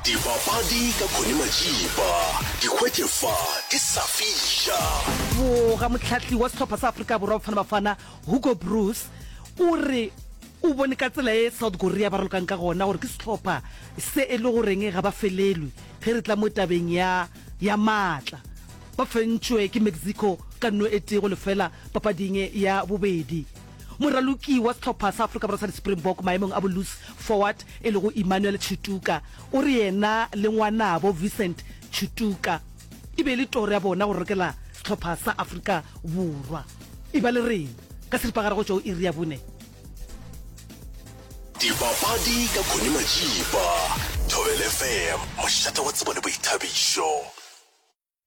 Dipapadi ka Connie Majiba, di hwetše fa di sa fiša. Boga mohlahli wa sehlopha sa Afrika Borwa Bafana Bafana Hugo Broos o re o bone ka tsela ye South Korea ba ralokang ka gona gore ke sehlopha se e le goreng ga ba felelwe ge re tla mo tabeng ya ya maatla. Ba fentšwe ke Mexico ka no e tee go lefela papading ya bobedi. Moraloki wa sehlopha sa Afrika Borwa sa di-Springbok maemong a bo-loose forward e lego Emmanuel Tshituka o re yena le ngwanabo Vincent Tshituka e be e le toro ya bona go rokela sehlopha sa Afrika Borwa. E ba le rena ka seripagare go tšwa go iri ya bone. Dipapadi ka Connie Majiba, Thobela FM, mošate wa tsebo le boithabišo.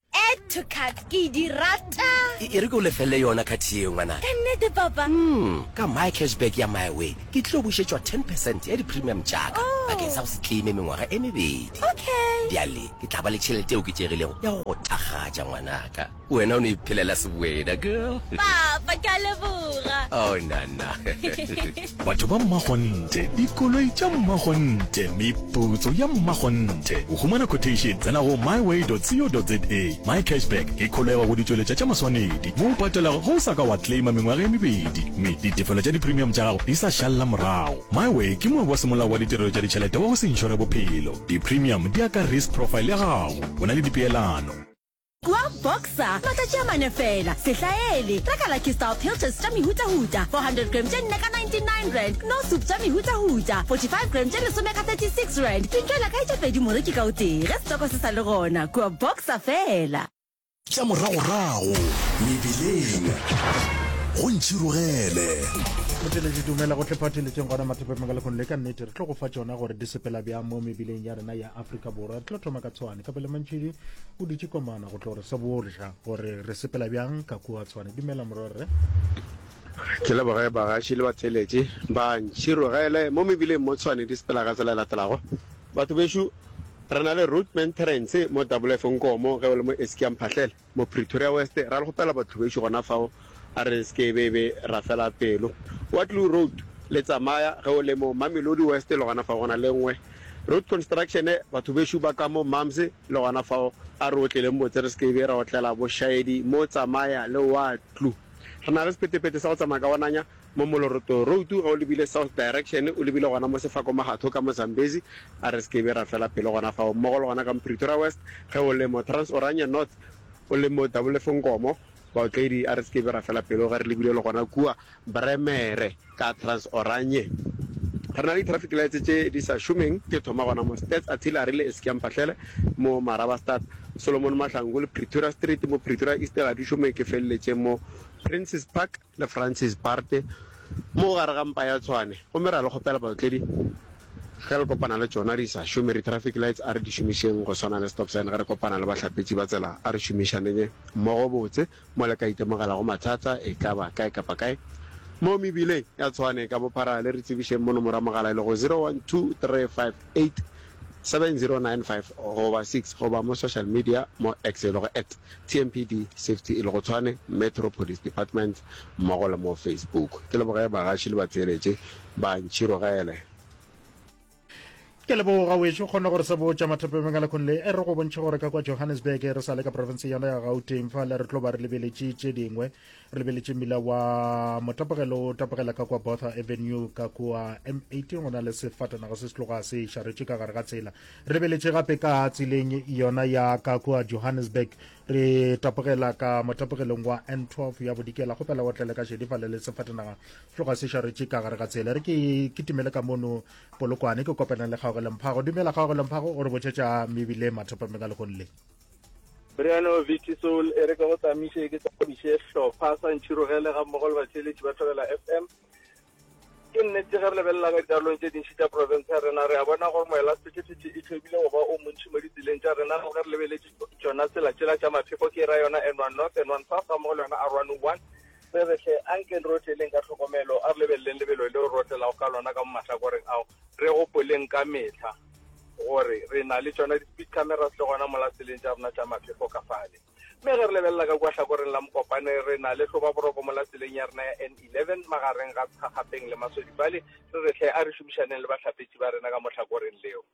Add to cart ke di rata. E, e re ke o lefelle yona khathi yeo, ngwanaka. Ka nnete, Papa? Mm, ka My Cashback ya MiWay, ke tlo bušetšwa 10 percent ya di-premium tša ka oh. bakeng sa go se claime mengwaga e mebedi. Okay. Bjale ke tla ba le tšhelete e oketšegilego ya go go thakgatša, ngwanaka. Wena o no iphelela sewena, girl. Papa, ke a leboga. Oh, nana. Batho ba mmakgonthe, dikoloi tša mmakgonthe, meputso ya mmakgonthe. Go humana quotation, tsena go myway.co.za. MyCashback ke kholego go ditšweletša tša maswanedi mo o patelago ge o sa ka wa claima mengwaga e mebedi mme ditefelo tša di-premium tša gago di sa šalela morago. MyWay ke moabi wa semolao wa ditirelo tša ditšhelete wa go se inšore bophelo. Di-premium di ya ka risk profile ya gago. Go na le dipeelano. Kua Boxer, matšatši a mane fela, sehlaele, reka Lucky Star Pilchards tša mehutahuta, 400 gram tše nne ka R99, Knorr Soup tša mehutahuta, 45 gram tše lesome ka R36, di tšwela kae tše pedi moreki ka o tee ge setoko se sa le gona, kua Boxer fela. Tša moragorago mebileng go ntšhirogele. Motheeletši dumela go tle phatheletšeng gona mathapeng ka lekgono le ka nnete re tlo go fa tšona gore di sepela bjang mo mebileng ya rena ya Afrika Borwa. Re tlo thoma ka Tshwane ka pele Mantšhidi o dutše komana go tlo re sebotša gore re sepela bjang ka kua Tshwane. Dumela morwarre. Ke leboge bagaši le batheeletši ba ntšhirogele mo mebileng mo Tshwane di sepela ka tsela e latelago. Batho bešo re na le road maintenance mo WF Nkomo ge o le mo Eskia Mphahlele mo Pretoria West ra le kgopela batho bešo gona fao a re se ke be be ra fela pelo. Waterloo Road le tsamaya ge o le mo Mamelodi West le gona fao go na le nngwe road construction batho bešo ba ka mo Mams Le gona fao, a re otleleng botse, re se ke be ra otlela bošaedi mo tsamaya le wa tlu. Re na le sephethephethe sa go tsamaya ka go nanya mo Moloroto Road ge o lebile south direction, o lebile gona mo Sefako Magatho ka mo Zambezi, a re se ke be ra fela pelo gona fao. Mmogo le gona ka mo Pretoria West ge o le mo Trans Oranje North, o le mo Dabulefo-Nkomo, baotledi a re se ke be ra fela pelo ge re lebile le gona kua Bremere ka Trans Oranje. Re na le di-traffic lights tše di sa šomeng, ke thoma gona mo Stats Artillery le Eskia Mphahlele, mo Marabastad, Solomon Mahlangu le Pretoria Street, mo Pretoria East ga di šome, ke feleletše mo Princes Park le Francis Baard mo gare ga mpa ya Tshwane. Gomme ra le kgopela baotledi ge le kopana le tšona di sa šome di-traffic lights a re di šomišeng go swana le stop sign ge re kopana le bahlapetši ba tsela a re šomišaneng mmogo botse. Mo le ka itemogelago mathata e ka ba kae kapa kae mo mebileng ya Tshwane ka bophara, le re tsebišeng mo nomoro ya mogala e lego 0123587095 goba 6 goba mo social media mo X e lego at TMPD Safety e lego Tshwane Metro Police Department mmogo le mo Facebook. Ke leboge bagaši le batheeletši ba ntšhirogele. Ke leboga wešo kgone gore se botša mathapemeng a lekgong le e re go bontšhe gore ka kwa Johannesburg re sa le ka profense yona ya Gauteng fa le re tlo ba re lebeletše tše dingwe re lebeletše mmila wa motapogelo o tapogela ka kwa Botha Avenue ka kwa M18 go na le sefatanaga se se tloga se šaretše ka gare ga tsela re lebeletše gape ka tseleng yona ya ka kwa Johannesburg re tapogela ka motapogelong wa N12 ya bodikela kgopela o tlele ka šedi fa le le sefatanaga tloga se šaretše ka gare ga tsela re ke kitimele ka mono Polokwane ke kopana le Kgaogelo Mphago. Dumela Kgaogelo Mphago, o re botšetša mebile mathopameng a lehono le. Briano Viti Soul e re ke go tsamiše ke tsamiše hlopha sa ntšhirogele ga mmogo le batheeletši ba Thobela FM. Ke nnete ge re lebelela ka dikarolong tše dintši tša profense ya rena re a bona gore moela sephethephethe e thomile go ba o montši mo ditseleng tša rena ge re lebeletše tšona tsela tšela tša maphefo ke ra yona N1 North, N1 South ga mmogo le yona R101 Re re hle, anke re otleleng ka tlhokomelo, a re lebeleleng lebelo leo re otlelago ka lona ka mo mahlakoreng ao, re gopoleng ka mehla gore re na le tšona di-speed cameras le gona mola tseleng tša rena tša maphefo ka fale. Mme ge re lebelela ka kua hlakoreng la Mokopane, re na le hlobaboroko mola tseleng ya rena ya N11 magareng ga Tshagapeng le Masodifale, re re hle, a re šomišaneng le bahlapetši ba rena ka mo hlakoreng leo.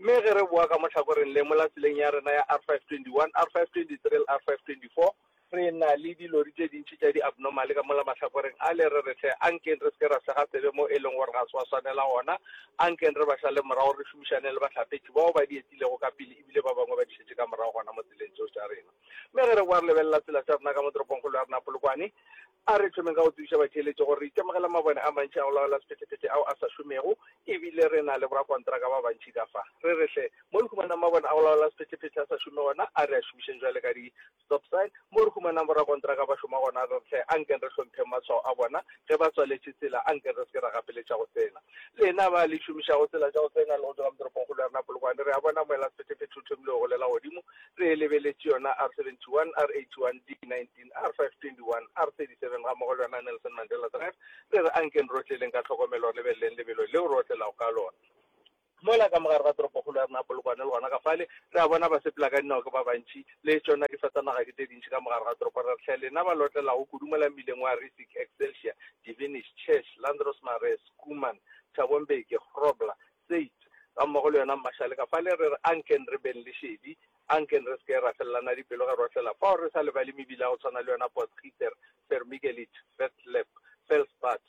Mme ge re boa ka mo hlakoreng le mola tseleng ya rena ya R521, R523 le R524, re na le dilori tše dintši tša di-abnormal ka mola mahlakoreng ale. Re re hle, ankeng re se ke ra sega tsebe mo e leng gore ga se wa swanela gona. Ankeng re ba šale morago, re šomišane le bahlapetši bao ba di etilego ka pele ebile ba bangwe ba di šetše ka morago gona mo tseleng tšeo tša rena. Mme ge re boa re lebelela tsela tša rena ka mo toropongkgolo ya rena Polokwane, A re thomeng ka go tsebiša batheeletši gore re itemogela mabone a mantši a go laola sephethephethe ao a sa šomego e bile re na le borakontraka ba bantši ka fa. Re re hle, mo le humanang mabone a go laola sephethephethe a sa šome gona, a re a šomišeng bjale ka di-stop sign. Mo re humanang borakontraka ba šoma gona, re re hle, ankeng re hlompheng matshwao a bona. Ge ba tswaletše tsela, ankeng re se ke ra gapeletša go tsena. Lena ba le šomišago tsela tša go tsena le go tšwa ka mo toropongkgolo ya rena Polokwane, re a bona moela sephethephethe o thomile go golela godimo. Re e lebeletše yona R71, R81, D19. R521, R37 gammogo le yona Nelson Mandela Drive, re re ankeng re otleleng ka tlhokomelo re lebeleleng lebelo leo re otlelago ka lona. Mola ka mogare ga toropokgolo ya rena Polokwane le gona ka fale re a bona ba sepela ka dinao ke ba bantši, le tšona difatanaga ke tše dintši ka mogare ga toropo. Re re hle lena ba lotlelago kudu mola mmileng wa Rissik, Excelsior, Divinish, Church, Landros Marais, Schoeman, Thabo Mbeki, Grobler, Seitz gammogo le yona Mashale ka fale re re ankeng re beng le šedi Anke re se ke ra felelana dipelo ge re otlela fao re sa lebale mebila ya go tshwana le yona Potgieter, Vermigelit, Vetlep, Felsbad.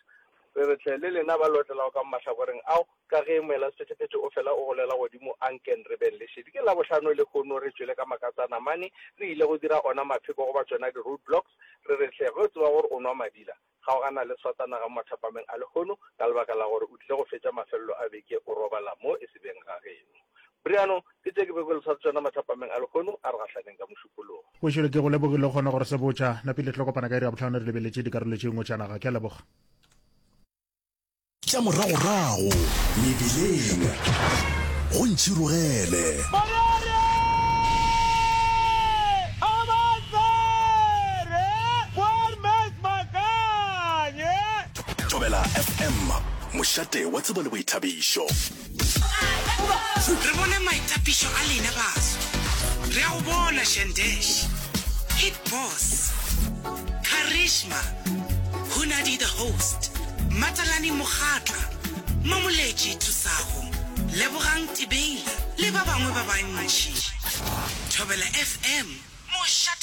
Re re hle le lena ba le otlelago ka mo mahlakoreng ao, ka ge moelasephetephete o fela o golela godimo, anken re beng le šedi. Ke Labohlano lehono re tšwele ka makatsana mane re ile go dira ona mapheko goba tšona di-road blocks. Re re hle ge o tseba gore o nwa madila, Kgaogana le sefatanaga mo mathapameng a lehono ka lebaka la gore o tlile go fetša mafelelo a beke o robala mo e se beng ga geno. Briano, Ke tše ke bego ke le tshware tšona mathapameng a lehono, a re gahlaneng ka Mošupologo. Wešo, ke go lebogile o kgona go re sebotša. Napile tlo kopana ka iri ya bohlano re lebeletše dikarolo tše dingwe tša naga. Ke a leboga. Tša moragorago mebileng go ntšhirogele. Thobela FM, mošate wa tsebo le boithabišo. Re bone maitapišo a lena baso. Re a go bona Shandesh, Hit Boss, Karishma, Hunadi the Host, Matalane Mokgatla, Mamoletši Thusago, Lebogang Tebeila le ba bangwe ba bantši. Thobela FM, mošate.